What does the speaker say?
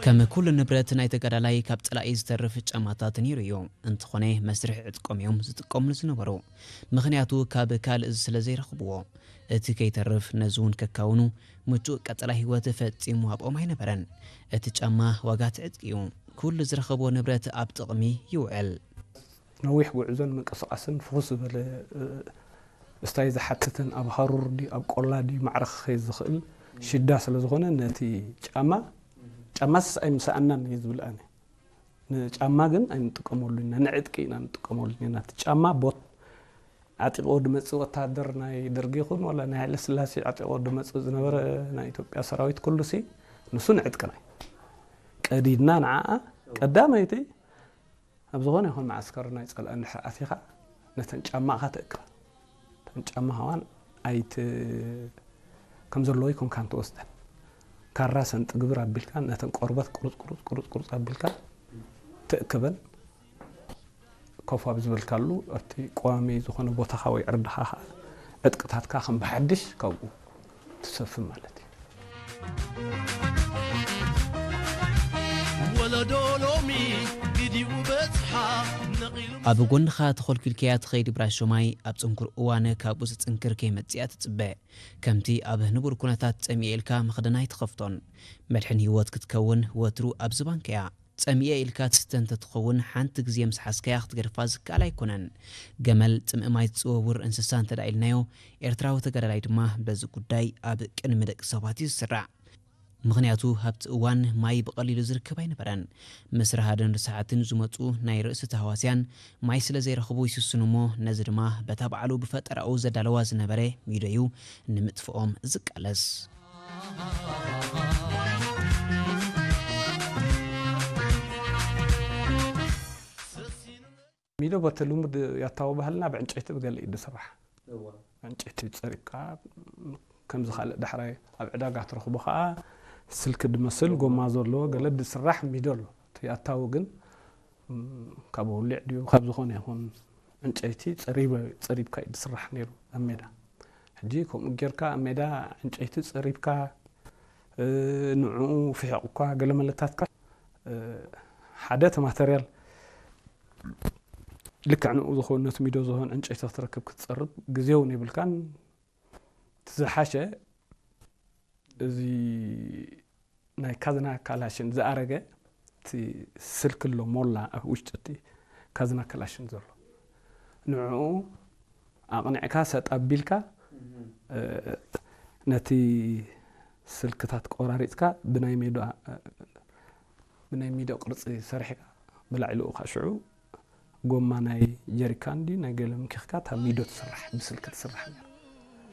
ከም ኩሉ ንብረት ናይ ተጋዳላይ ካብ ጸላኢ ዝተርፍ ጫማታት ነይሩ እዩ። እንተኾነ መስርሕ ዕጥቆም እዮም ዝጥቀምሉ ዝነበሩ። ምኽንያቱ ካብ ካልእ ስለ ዘይረኽብዎ። እቲ ከይተርፍ ነዚ እውን ከካውኑ ምቹእ ቀጸላ ህይወት ፈጺሙ ኣብኦም ኣይነበረን። እቲ ጫማ ዋጋ እቲ ዕጥቂ እዩ። ኩሉ ዝረኸቦ ንብረት ኣብ ጥቕሚ ይውዕል። ነዊሕ ጉዕዞን ምንቅስቓስን ፍኹስ ዝበለ፣ እ፣ እስታይ ዝሓትትን ኣብ ሃሩር ድዩ ኣብ ቆላ ድዩ ማዕረ ክኸይድ ዝኽእል ሽዳ ስለ ዝኾነ ነቲ ጫማ፣ ጫማስ ኣይምሰኣናን እየ ዝብል ኣነ። ንጫማ ግን ኣይንጥቀመሉ ኢና፣ ንዕጥቂ ኢና ንጥቀመሉ ኢና። እቲ ጫማ ቦት ዓጢቕዎ ድመጽእ ወታደር ናይ ደርጊ ይኹን ዋላ ናይ ሃይለ ስላሴ ዓጢቕዎ ድመጽእ ዝነበረ ናይ ኢትዮጵያ ሰራዊት ኩሉ ሲ ንሱ ንዕጥቅና እዩ። ቀዲድና ንዓኣ ቀዳመይቲ ኣብ ዝኾነ ይኹን መዓስከር ናይ ጸላኢ እንድሕር ኣቲኻ ነተን ጫማኻ ትእክበን። እተን ጫማ ኸዋን ኣይት-፣ ከም ዘለዎ ይኮንካን ትወስደን። ካራ ሰንጢ ግብር ኣቢልካ ነተን ቆርበት ቁሩጽ ቁሩጽ ቁሩጽ ቁሩጽ ኣቢልካ ትእክበን። ኮፍ ኣብ ዝበልካሉ ኣብቲ ቀዋሚ ዝኾነ ቦታኻ ወይ ዕርድኻ ኸኣ ዕጥቅታትካ ከም ብሓድሽ ካብኡ ትሰፍን ማለት እዩ። ወለዶ ሎሚ ግዲኡ በጽሓ ነቒሉ ኣብ ጎንኻ ተኾልኪልካያ ትኸይድ ብራሾማይ ኣብ ጽንኩር እዋን ካብኡ ዝጽንክር ከይመጽእ እያ ትጽበ። ከምቲ ኣብ ንቡር ኩነታት ጸሚኤ ኢልካ መኽደና ኣይትኸፍቶን። መድሕን ህይወት ክትከውን ወትሩ ኣብ ዝባንካ እያ። ጸሚኤ ኢልካ ትስተ እንተትኸውን ሓንቲ ግዜ ምስ ሓዝካያ ክትገድፋ ዝከኣል ኣይኮነን። ገመል ጽምኢ ማይ ዝጽወውር እንስሳ እንተ ደኣ ኢልናዮ፣ ኤርትራዊ ተጋዳላይ ድማ በዚ ጉዳይ ኣብ ቅድሚ ደቂ ሰባት እዩ ዝስራዕ። ምኽንያቱ ኣብቲ እዋን ማይ ብቐሊሉ ዝርከብ ኣይነበረን። ምስ ረሃድን ርሳሓትን ዝመጹ ናይ ርእሲ ተህዋስያን ማይ ስለ ዘይረኽቡ ይስስኑ እሞ ነዚ ድማ በታ ባዕሉ ብፈጠራኡ ዘዳለዋ ዝነበረ ሚዶ እዩ ንምጥፍኦም ዝቃለስ። ሚዶ በቲ ልሙድ ያታዊ ባህልና ብዕንጨይቲ ብገለ እዩ ዝስራሕ። ዕንጨይቲ ጸሪብካ ከምዚ ካልእ ዳሕራይ ኣብ ዕዳጋ ትረኽቦ ከዓ ስልኪ ዝመስል ጎማ ዘለዎ ገለ ዝስራሕ ሚዶ ኣሎ። እቲ ያታዊ ግን ካብ ውሊዕ ድዩ ካብ ዝኾነ ይኹን ዕንጨይቲ ጸሪብካ እዩ ዝስራሕ ነይሩ ኣብ ሜዳ። ሕጂ ከምኡ ጌርካ ኣብ ሜዳ ዕንጨይቲ ጸሪብካ ንዕኡ ፍሒቑካ ገለ መለታትካ ሓደ እቲ ማተርያል ልክዕ ንኡ ዝኾን ነቲ ሚዶ ዝኾን ዕንጨይቲ ክትረክብ ክትጸርብ ግዜ እውን የብልካን። እቲ ዝሓሸ እዚ ናይ ካዝና ካላሽን ዝኣረገ እቲ ስልኪ ኣሎ ሞላ ኣብ ውሽጢ እቲ ካዝና ካላሽን ዘሎ ንዕኡ ኣቕኒዕካ ሰጥ ኣቢልካ ነቲ ስልክታት ቆራሪፅካ ብናይ ሜዳ ብናይ ሚዶ ቅርፂ ሰሪሕካ ብላዕሊኡ ከዓ ሽዑ ጎማ ናይ ጀሪካን ድዩ ናይ ገለ ምኪኽካ እታ ሚዶ ትስራሕ ብስልኪ ትስራሕ ነራ።